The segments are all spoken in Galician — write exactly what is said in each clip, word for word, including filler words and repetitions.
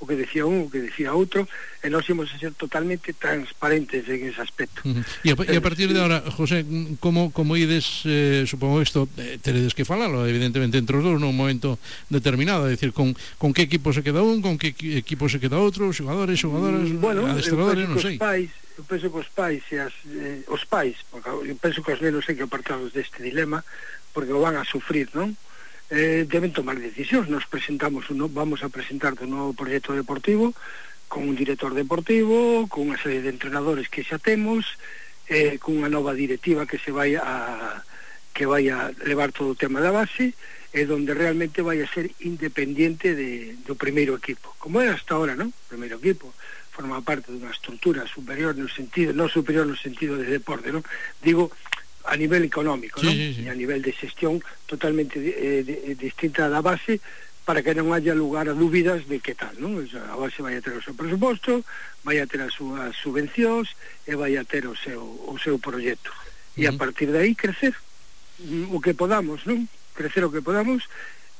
o que decía un, o que decía outro, e nós íamos a ser totalmente transparentes en ese aspecto. Uh-huh. E, a, e a partir de ahora, José, como, como ides, eh, supongo isto, eh, teredes que falalo, evidentemente, entre os dous nun momento determinado, é dicir, con, con que equipo se queda un, con que equipo se queda outro, xogadores, xogadoras, mm, bueno, adestradores, non sei. Pais, eu penso que os pais e as, eh, os pais, porque eu penso que os nenos hai que apartados deste dilema, porque o van a sufrir, non? Eh, deben tomar decisións. Nos presentamos uno, vamos a presentar un novo proxecto deportivo con un director deportivo, con unha serie de entrenadores que xa temos, eh, con unha nova directiva que se vai a que vai a levar todo o tema da base, e donde realmente vai a ser independiente de, do primeiro equipo, como é hasta ahora, non? O primeiro equipo forma parte dunha estrutura superior no sentido, non superior no sentido de deporte, non? Digo, a nivel económico, sí, ¿no? Sí, sí. E a nivel de xestión totalmente eh, de, de, distinta da base, para que non haya lugar a dúbidas de que tal, ¿no? O sea, a base vai a ter o seu presuposto, vai a ter as súas subvencións e vai a ter o seu, o seu proxecto. Uh-huh. E a partir de aí crecer o que podamos, ¿no? Crecer o que podamos,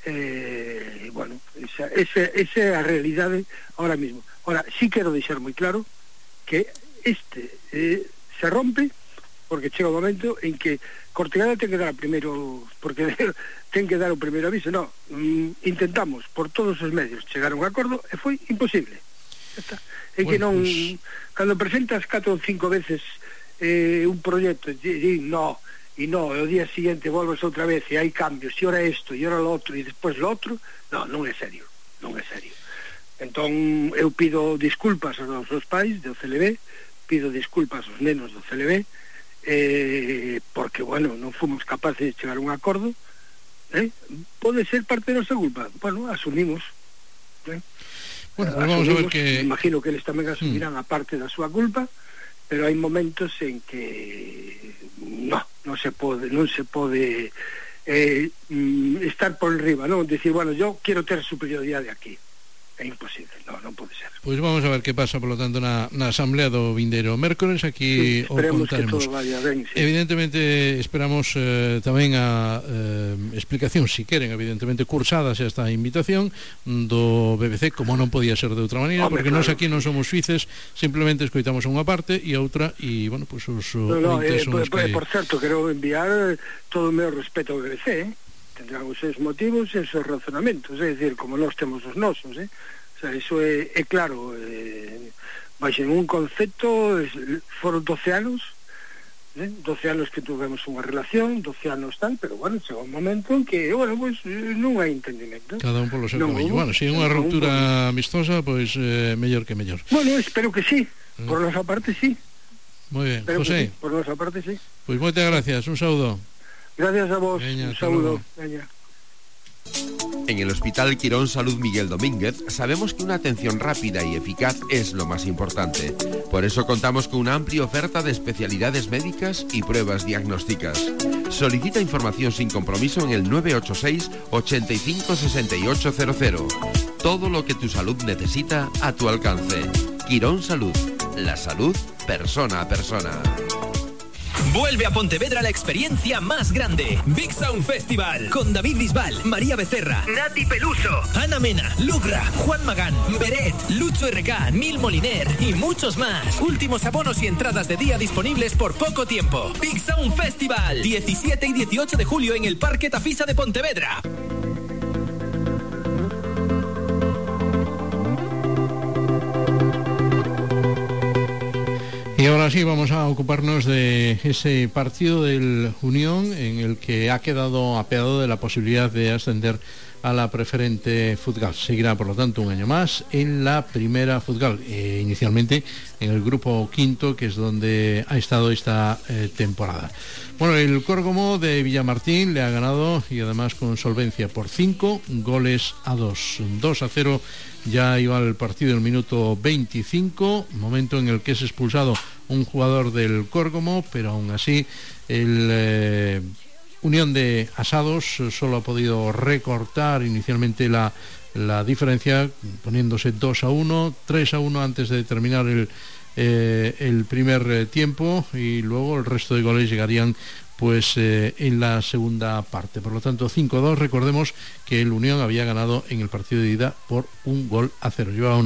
eh, bueno, esa, esa, esa é a realidade ahora mismo. Ahora, sí quero deixar moi claro que este eh, se rompe porque chega o momento en que Cortegada ten que dar o primeiro, porque ten que dar o primeiro aviso. No, mm, intentamos por todos os medios chegar a un acordo e foi imposible. Está. É bueno, que non, pues... cando presentas catro ou cinco veces eh, un proxecto e di no, e no, e o día siguiente volves outra vez e hai cambios, e ora isto, e ora lo outro, e despois lo outro, no, non é serio, non é serio. Entón, eu pido disculpas aos nosos pais do C L B, pido disculpas aos nenos do C L B, eh, porque, bueno, non fomos capaces de chegar a un acordo, eh? Pode ser parte da nosa culpa, bueno, asumimos, eh? Bueno, pues vamos a ver que... Imagino que eles tamén asumirán mm. a parte da súa culpa, pero hai momentos en que no, non se pode, non se pode eh, estar por enriba, non? Decir, bueno, yo quiero ter superioridade aquí. É imposible, non, non pode ser. Pois pues vamos a ver que pasa, por lo tanto, na, na asamblea do vindeiro mércores, aquí sí, o contaremos. Que todo vaya ben, sí. Evidentemente esperamos eh, tamén a eh, explicación, si queren, evidentemente cursadas esta invitación do B B C, como non podía ser de outra maneira. Hombre, porque claro, nós aquí non somos suíces, simplemente escoitamos unha parte e outra, e, bueno, pues os no, no, eh, por, que... por certo, quero enviar todo o meu respeto ao B B C, eh? Tendrán os seus motivos e os seus razonamentos, é dicir, como nós temos os nosos, eh? O sea, iso é, é claro, eh, baixo en un concepto, es, foron doce anos, eh? doce anos que tuvemos unha relación, doce anos tal, pero bueno, chegou un momento en que, bueno, pues, non hai entendimento. Cada un polo seu camiño. Bueno, se é unha ruptura amistosa, pois eh, mellor que mellor. Bueno, espero que sí, por nosa parte sí. Moi ben, espero José. Sí, por nosa parte sí. Pois moitas gracias, un saúdo. Gracias a vos, Veña, un saludo. Veña. En el Hospital Quirón Salud Miguel Domínguez sabemos que una atención rápida y eficaz es lo más importante. Por eso contamos con una amplia oferta de especialidades médicas y pruebas diagnósticas. Solicita información sin compromiso en el nueve ocho seis, ochenta y cinco, sesenta y ocho cero cero. Todo lo que tu salud necesita a tu alcance. Quirón Salud. La salud persona a persona. Vuelve a Pontevedra la experiencia más grande. Big Sound Festival. Con David Bisbal, María Becerra, Nati Peluso, Ana Mena, Lugra, Juan Magán, Beret, Lucho R K, Nil Moliner y muchos más. Últimos abonos y entradas de día disponibles por poco tiempo. Big Sound Festival. diecisiete y dieciocho de julio en el Parque Tafisa de Pontevedra. Y ahora sí vamos a ocuparnos de ese partido del Unión en el que ha quedado apeado de la posibilidad de ascender a la preferente Futgal. Seguirá, por lo tanto, un año más en la primera Futgal, eh, inicialmente en el grupo quinto, que es donde ha estado esta eh, temporada. Bueno, el Córgomo de Villamartín le ha ganado, y además con solvencia, por cinco goles a dos. dos a cero ya iba el partido en el minuto veinticinco, momento en el que es expulsado un jugador del Córgomo, pero aún así el eh, Unión de Asados solo ha podido recortar inicialmente la, la diferencia, poniéndose dos a uno, tres a uno antes de terminar el, eh, el primer eh, tiempo, y luego el resto de goles llegarían pues eh, en la segunda parte. Por lo tanto, cinco a dos. Recordemos que el Unión había ganado en el partido de ida por un gol a cero. Llevaba una